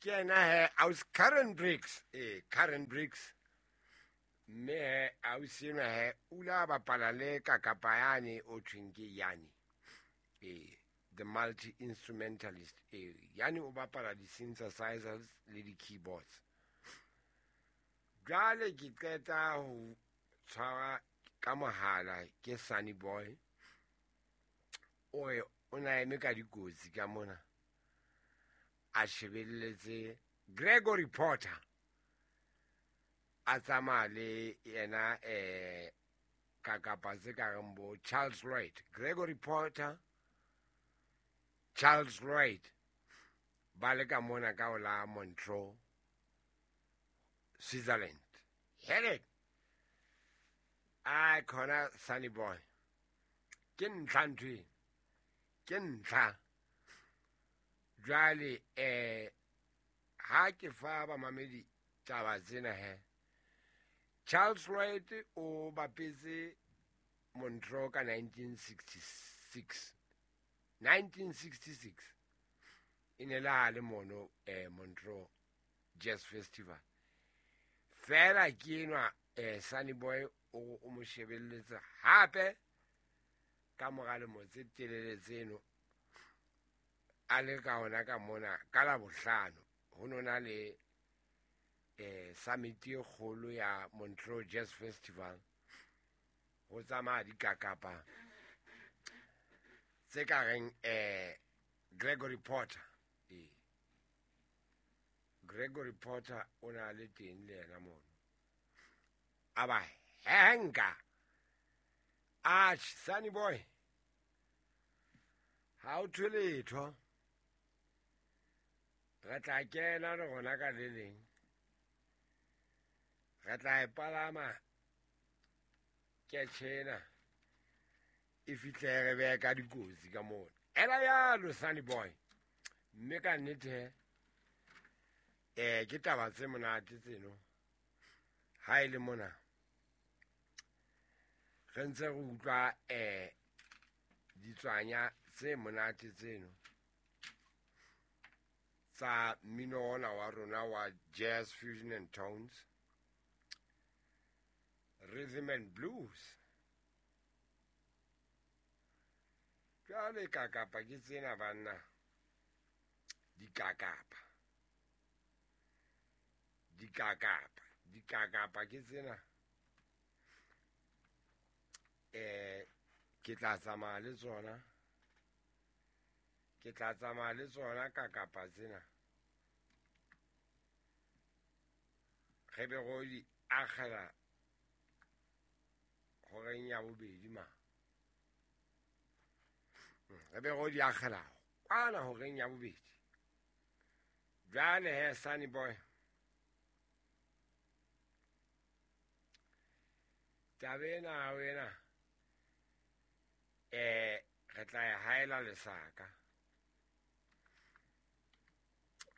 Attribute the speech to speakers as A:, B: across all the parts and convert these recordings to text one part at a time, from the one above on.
A: Ke yena he aus Karen Briggs, ee, Karen Briggs. Mme he ausi enwa he o ile a bapala le kakapa yane o thweng ke Yanni, ee, the multi instrumentalist. Ee, Yanni o bapala di-synthesizers le di-keyboards. Jwale ke qeta ho tshwara ka mohala ke Sunny Boy, o re o na eme ka dikotsi ka mona a shebelletse Gregory Porter a tsamaya le yena ka kapa tse ka reng bo Charles Lloyd. Gregory Porter, Charles Lloyd ba le ka mona ka ola Montreux, Switzerland. Hele, ai khona Sunny Boy, ke ntlha ntho e, ke ntlha. Jwale ha ke fa bamamedi taba tsena he, Charles Lloyd o bapetse Montreux ka 1966. 1966 e ne le ha le mono Montreux Jazz Festival. Fela ke enwa Sunny Boy o mo shebelletse hape ka mora lemo tse telele tseno a le ka ona ka mona ka la bohlano. Ho nona le summit e kgolo ya Montreux Jazz Festival, ho tsamaya dikakapa tse ka reng Gregory Porter. Gregory Porter o na le teng le yena mono, a ba henka. Atjhe, Sunny Boy, ha o thwe letho, re tla kena le rona ka le leng, re tla e palama ketjhena e fihle re behe ka dikotsi ka mona. Ela yalo Sunny Boy, mme ka nnete he ke taba tse monate tseno. Ha e le mona re ntse re utlwa ditswanya tse monate tseno tsa mmino ona wa rona wa jazz, fusion and tones, rhythm and blues. Jwale kakapa ke tsena banna, dikakapa, dikakapa, dikakapa ke tsena. Ke tla tsamaya le tsona, ke tla tsamaya le tsona kakapa tsena. Re be ro di akgela horeng ya bobedi ma. Re be ro di akgela kwana horeng ya bobedi. Jwale he Sunny Boy, taba ena wena re tla e haela lesaka.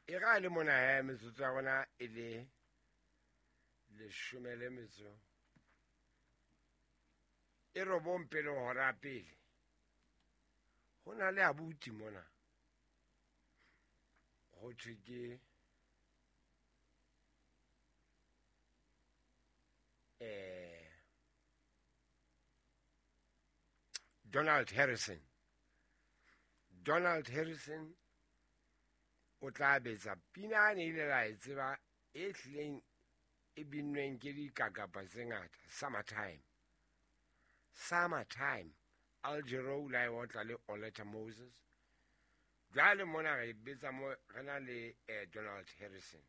A: E ra le mona he metsotso ya rona e le leshome le metso e robong pele hora pele. Ho na le abuti mona, ho thwe ke Donald Harrison. Donald Harrison o tla betsa pina ne ile la e tseba e hlileng e binnweng ke dikakapa tse ngata, Summertime. Summertime, Al Jarreau la e otla le Oleta Moses. Jwale mona re betsa mo re na le Donald Harrison.